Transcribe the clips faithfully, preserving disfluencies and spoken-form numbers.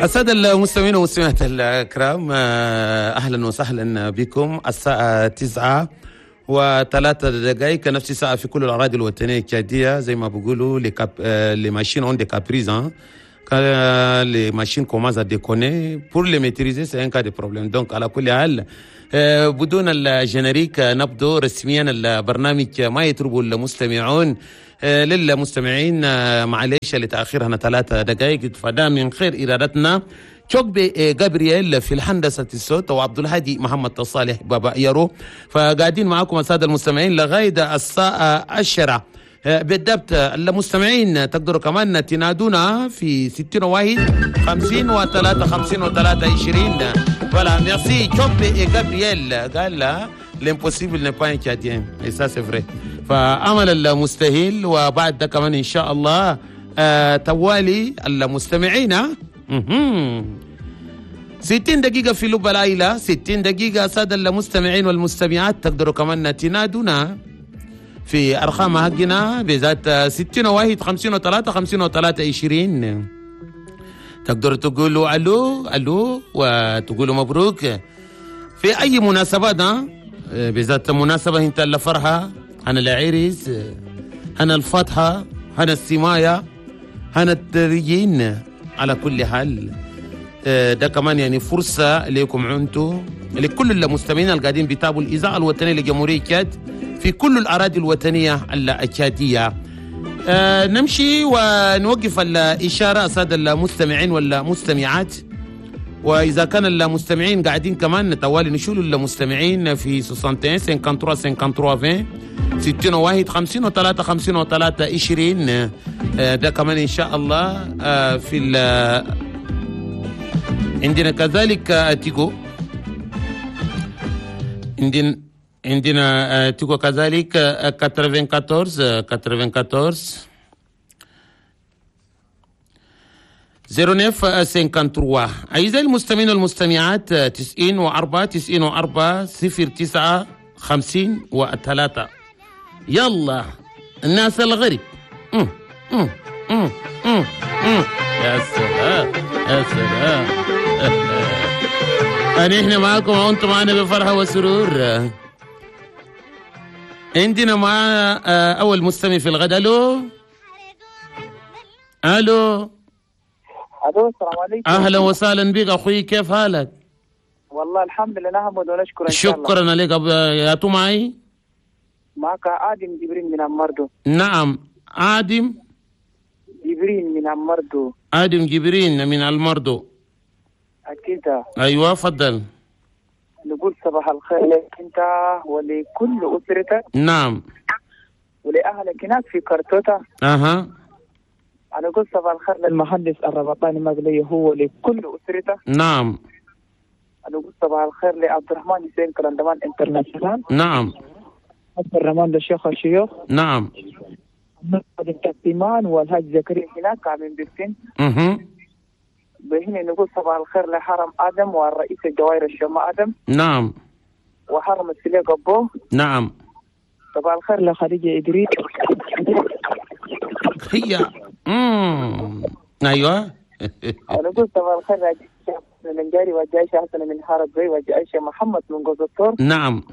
السادة المستمعين والمستمعات الكرام، أهلا وسهلا بكم. الساعة تسعة وثلاثة دقائق، نفس الساعة في كل الأراضي الوطنية التشادية. زي ما بيقولوا les cap les machines ont des caprices, quand les machines commencent à déconner, pour les maîtriser, c'est un cas de problème. Donc, على كل حال، بدون ال générique نبدو رسميا البرنامج ما يطرب المستمعون. للمستمعين معلش لتأخيرنا ثلاثة دقائق، فده من غير إرادتنا. تشوكبي جابرييل في الهندسة الصوت وعبد الهادي محمد صالح بابا يارو، فقاعدين معكم السادة المستمعين لغاية الساعة عشرة بالضبط. المستمعين تقدروا كمان تنادونا في ستين واحد خمسين وثلاثة خمسين وثلاثة عشرين. Voilà, merci تشوكبي جابرييل. قال l'impossible n'est pas un Tchadien, et ça c'est vrai. فعمل المستحيل. وبعد ده كمان ان شاء الله آه توالي المستمعين ستين دقيقة في لب العائلة، ستين دقيقة. سادة المستمعين والمستمعات، تقدروا كمان تنادونا في أرقام حقنا بذات ستين واحد خمسين وثلاثة خمسين وثلاثة عشرين. تقدروا تقولوا ألو ألو وتقولوا مبروك في أي مناسبات، بالذات مناسبة انت الفرحة، هنا العرس، هنا الفاتحة، هنا السماية، هنا التريين. على كل حال ده كمان يعني فرصة لكم انتم، لكل المستمعين القاعدين بيتابعوا الإذاعة الوطنية لجمهورية تشاد في كل الأراضي الوطنية التشادية. آه نمشي ونوقف الإشارة السادة المستمعين والمستمعات، وإذا كان المستمعين قاعدين كمان طوالي نشيلوا المستمعين في واحد وستين ثلاثة وخمسين ثلاثة وخمسين عشرين، ستين واحد خمسين وثلاثة خمسين وثلاثة عشرين. ده كمان إن شاء الله آه، في ال- عندنا كذلك آه، تيجو، عندنا عندنا آه، تيجو كذلك آه، أربعة وثمانين آه، أربعة وثمانين تسعة وتسعين ثلاثة وخمسين. أعزائي المستمعين والمستمعات، تسعين وأربعة تسعين وأربعة صفر تسعة خمسين وثلاثة. يلا الناس الغرب. مم، مم، مم، مم، مم. يا سلام يا سلام. أنا إحنا معاكم وأنتم معنا بفرحة وسرور. عندنا مع آه، أول مستمع في الغد. ألو ألو. الو، السلام عليكم. أهلا وسهلا بك أخوي، كيف حالك؟ والله الحمد لله، نحمد ونشكر ان شاء الله. شكرا لك. أب- يا تو معي؟ معك ادم جبرين من المردو. نعم، آدم جبرين من المردو. آدم جبرين من المردو. اكيد. أيوة، فضل. نقول صباح الخير لك انت ولكل اسرتك نعم ولاهلك هناك في كرتوتا. أها انا اقول صباح الخير للمهندس الربطاني مغلي هو لكل اسرته. نعم انا اقول صباح الخير لعبد الرحمن حسين كلندمان international. نعم عبد الرحمن للشيخ الشيوخ. نعم التيمان والهاج زكريا هناك من بيرتين. مهم. بهنا نقول صباح الخير لحرم ادم والرئيس الجوائر الشماء ادم. نعم وحرم السليق ابو. نعم صباح الخير لخديجه ادريس. هي مم. أيوة. ونقول صباح الخير لجيش من جاري وجايشة حسن من حارة زي وجايشة محمد من جوز الطور. نعم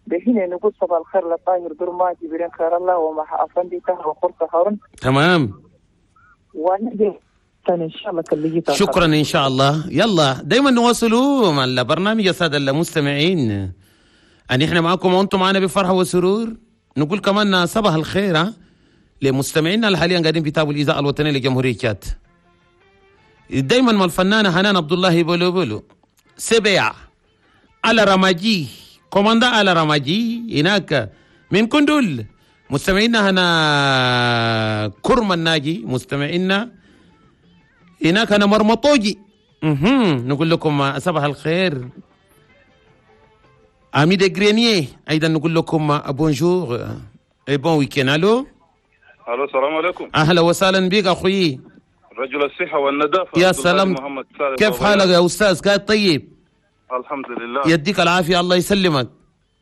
بهنا نقول صباح الخير لطاهر درما جبرين خير الله ومع أفندي طاهر وخرطة هارون. تمام. ونجي ثاني إن شاء الله كل شكرا ان شاء الله. يلا دايما نواصلوا مع البرنامج يا ساده المستمعين، ان احنا معكم وانتم معنا بفرحه وسرور. نقول كمان صباح الخير ها لمستمعينا اللي حاليا قاعدين بيتابعوا الاذاعه الوطنيه لجمهوريه تشاد. دايما مع الفنانه حنان عبد الله بولو بولو سبع على رماجي، commandant على رماجي هناك من كندول. مستمعينا هنا كرم الناجي، مستمعينا هناك هنا مرمطوجي، مهم. نقول لكم صباح الخير. Amis de Grenier ايضا نقول لكم bonjour et bon week-end. الو. الو، السلام عليكم. اهلا وسهلا بك اخوي. رجل الصحة والنظافة يا عبد الله سلام. محمد سالم. كيف بابا. حالك يا استاذ؟ قاعد طيب؟ الحمد لله. يديك العافيه، الله يسلمك.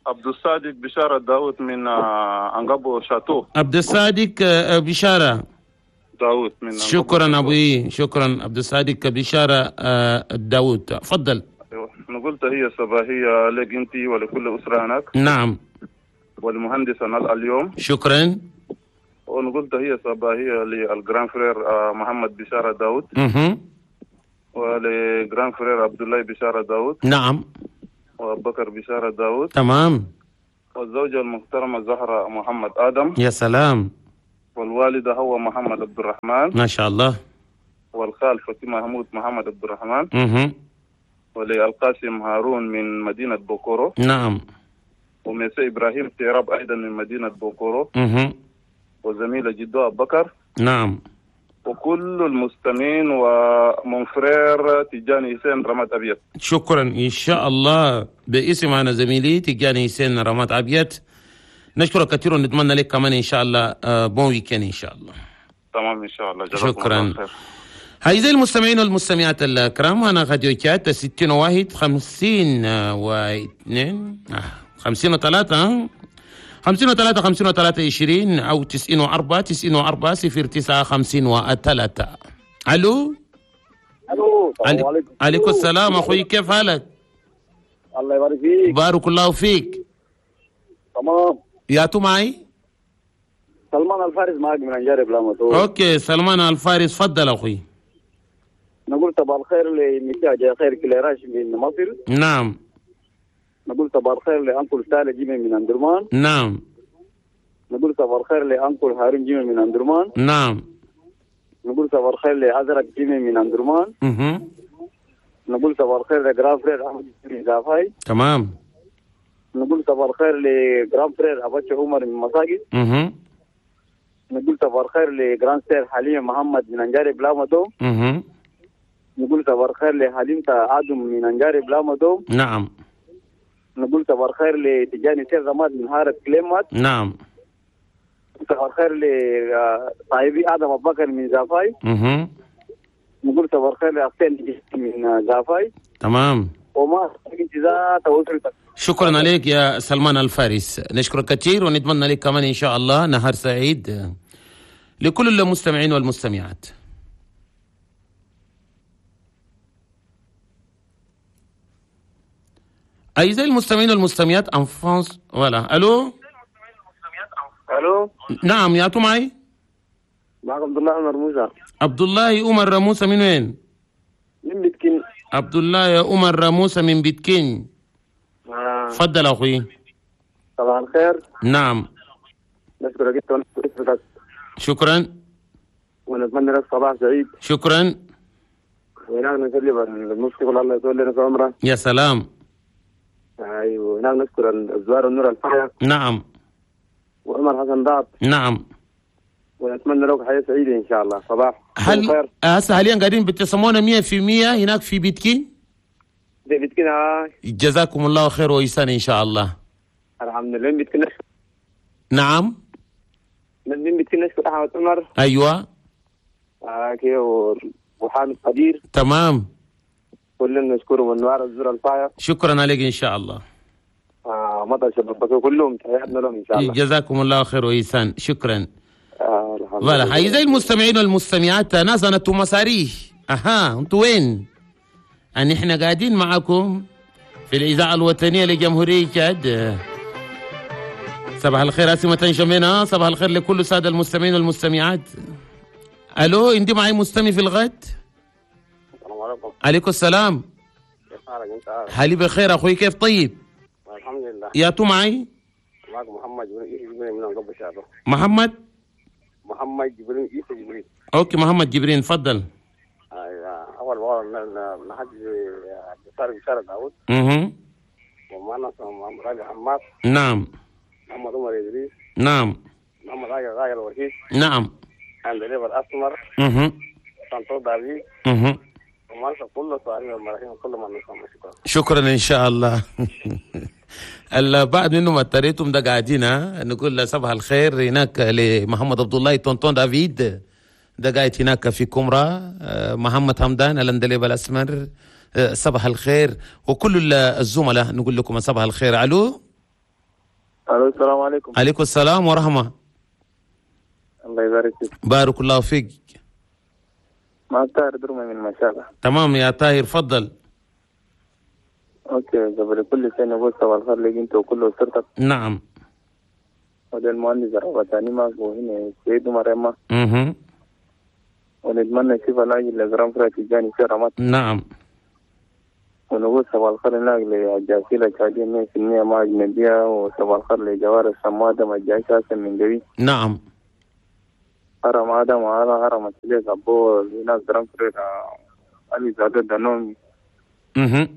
عبد الصادق بشارة داود من آه، أنقبو شاتو. عبد الصادق آه، بشاره. داوود من شكرا ابوي، شكرا عبد الصادق بشارة داوود، تفضل. نقول تحية صباحية لك انت ولكل اسره هناك. نعم. والمهندس اليوم. شكرا. ونقول تحية صباحية لل grand frère محمد بشارة داوود. اها. ول grand frère عبد الله بشارة داوود. نعم. وابو بكر بشارة داوود. تمام. والزوجة المحترمة زهرة محمد آدم. يا سلام. والوالدة هو محمد عبد الرحمن. ما شاء الله. والخال فاطمة محمود محمد عبد الرحمن. اها. وللقاسم هارون من مدينة بوكورو. نعم. وميسي إبراهيم تيراب أيضا من مدينة بوكورو. اها. وزميلة جدو أبو بكر. نعم. وكل المستمعين و mon frère تيجاني حسين رماد أبيض. شكرا. إن شاء الله باسم أنا زميلي تيجاني حسين رماد أبيض نشكرك كثير ونتمنى لك كمان إن شاء الله bon week-end إن شاء الله. تمام إن شاء الله. شكرا. أعزائي المستمعين والمستمعات الكرام، أنا راديو تشاد ستين واحد خمسين واثنين خمسين وثلاثة خمسين وثلاثة خمسين وثلاثة عشرين أو تسعين وأربعة تسعين وأربعة صفر تسعة خمسين وثلاثة. ألو. ألو. السلام عليكم. عليكم السلام أخوي، كيف حالك؟ الله يبارك فيك. بارك الله فيك. تمام. يا تو معي؟ سلمان الفارس معك من أنجاري بلامتو. okay سلمان الفارس، تفضل أخوي. نقول صباح الخير لمساء خير كليراش من مصر. نعم. نقول صباح الخير ل uncle سالي جيمي من أندرمان. نعم. نقول صباح الخير ل uncle هارون جيمي من أندرمان. نعم. نقول صباح الخير لأزرق جيمي من أندرمان. اها. نقول صباح الخير ل grand frère أحمد جيمي زافاي. تمام. نقول صباح الخير ل grand frère أباتش عمر من مساجد. اها. نقول صباح الخير ل grande sœur حليم محمد من أنجاري بلامدو. اها. نقول صباح الخير لحليم آدم من أنجاري بلامدو. نعم. نقول صباح الخير لتجاني سير رماد من هارة كليمات. نعم. صباح الخير لصاحبي آدم أبو بكر من زافاي. اها. نقول صباح الخير لأختين من زافاي. تمام. وما انتظار. شكرا عليك يا سلمان الفارس، نشكرك كثير ونتمنى لك كمان إن شاء الله نهار سعيد لكل المستمعين والمستمعات. أعزائي المستمعين والمستمعات en France voilà. ألو. ألو. نعم يا تو معي؟ معك عبد الله عمر موسى. عبد الله عمر موسى من وين؟ من بيتكين. عبد الله عمر موسى من بيتكين. تفضل أخوي. صباح الخير. نعم. نشكرك أنت ونشكر شكرا. ونتمنى لك صباح سعيد. شكرا. وهناك نسلم المفتي الله يطول لنا في عمره. يا سلام. ايوه هناك نشكر الزوار النور الفايق. نعم. وعمر حسن ضاب. نعم. ونتمنى لك حياة سعيدة إن شاء الله. صباح هل هسه حاليا قاعدين بتسمونا مية في المية هناك في بيتكين؟ في بيتكين آه. جزاكم الله خير وإحسان إن شاء الله. الحمد لله. من بيتكين نشكر. نعم. من بيتكين نشكر أحمد عمر. أيوة. آه كي وحامد قدير. تمام. كلنا نشكره والنوار الزر الفايق. شكرا عليك إن شاء الله. آه مطر شباب كلهم تحياتنا لهم إن شاء الله. جزاكم الله خير وإحسان. شكرا. آه الحمد لله. لله. أعزائي المستمعين والمستمعات، ناس أنا مساريه. أها أنتوا وين؟ أن إحنا قاعدين معكم في الإذاعة الوطنية لجمهورية تشاد. صباح الخير أسمة شمينة، صباح الخير لكل السادة المستمعين والمستمعات. ألو، عندي معي مستمع في الغد. السلام عليكم. عليكم السلام. كيف حالك أنت؟ حالي بخير أخوي، كيف طيب؟ الحمد لله. يا تو معي؟ معك محمد جبريل من قبل شعره. محمد؟ محمد جبريل عيسى جبريل. okay محمد جبرين، تفضل. ايوه اول مرة نحج عبد بشارة داوود. اها. ومعنا محمد راجي حماد. نعم. محمد عمر ادريس. نعم. محمد راجي راجي الوحيد. نعم. اندريب الاسمر. اها. سانتو دافي. اها. ومعنا كل صاحبي المراحيم كل ما نسمع. شكرا. شكرا ان شاء الله. البعض منهم اضطريتم ده قاعدين نقول صباح الخير هناك لمحمد عبد الله tonton دافيد ده قاعد هناك في كومرا، محمد حمدان الاندليب الاسمر صباح الخير، وكل الزملاء نقول لكم صباح الخير. الو. الو السلام عليكم. عليكم السلام ورحمة الله يبارك فيك. بارك الله فيك. معك طاهر درمة من مشاغة. تمام يا طاهر، فضل. okay، قبل كل شيء نقول صباح الخير لك انت وكل اسرتك. نعم. وده المهندس الربطاني معك، وهنا السيد عمر إما. اها. ونتمنى الشفاء العاجل ل grand frère تيجاني في رمات. نعم. ونقول صباح الخير هناك للجاسيلة الشادية مية في المية مع أجنبية، وصباح الخير لجوار السمادة مع الجيش حسن من جوي. نعم. هرم آدم وهذا هرم السليك أبو هناك grand frère علي زادة دانومي. اها.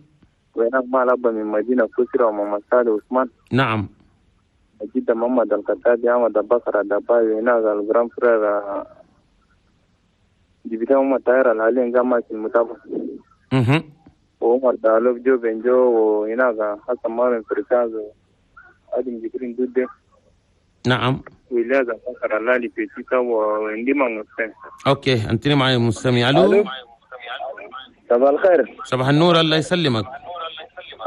وهناك مع الأب من مدينة كسرى ومحمد صالح عثمان. نعم. جدا محمد الخطابي أحمد بكر الدباوي، هناك ال grand frère جبتها هم الطائرة الحاليا قام في المتابعة. اها. وعمر دالوب جو بنجو، وهناك حسن مارن فركاز وادم جبرين دودة. نعم. وإلياس بكر اللالي في تيتا وعندي ما مستمع. okay، انتني معي مستمع. الو. صباح الخير. صباح النور، الله يسلمك.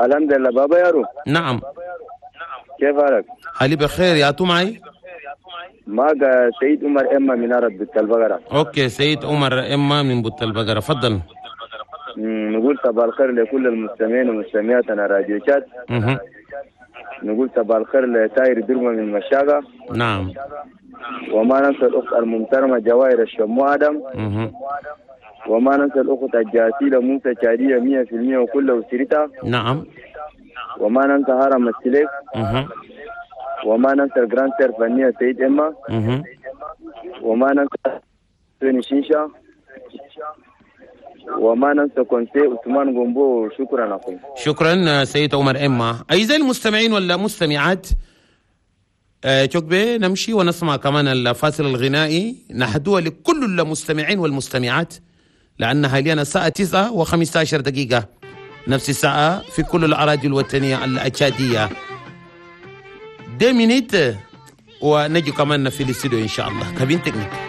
الحمد لله بابا يارو. نعم. كيف حالك؟ حالي بخير، يا تو معي؟ معك سيد عمر إما من عرب بت البقرة. okay، سيد عمر إما من بت البقرة، فضل. نقول صباح الخير لكل المستمعين ومستمعات على راديو شات. اها. نقول صباح الخير لتاير درمة من مشاقة. نعم. وما ننسى الأخت الممترمة جواهر الشمو آدم. اها. وما ننسى الأخت الجاسيلة موسى شادية مية في المية وكل أسرتها. نعم. وما ننسى هرم السليك. اها. وما ننسى ال grande sœur فنية سيد إما. اها. وما ننسى سوني شيشة. وما ننسى كونسي عثمان غومبو. شكرا أخوي. شكرا سيد عمر إما. أعزائي المستمعين ولا مستمعات، آه نمشي ونسمع كمان الفاصل الغنائي نهدوه لكل المستمعين والمستمعات، لأن حاليا الساعة تسعة وخمسة عشر دقيقة، نفس الساعة في كل الأراضي الوطنية التشادية. deux minutes ونجي كمان في الاستوديو إن شاء الله. cabine technique.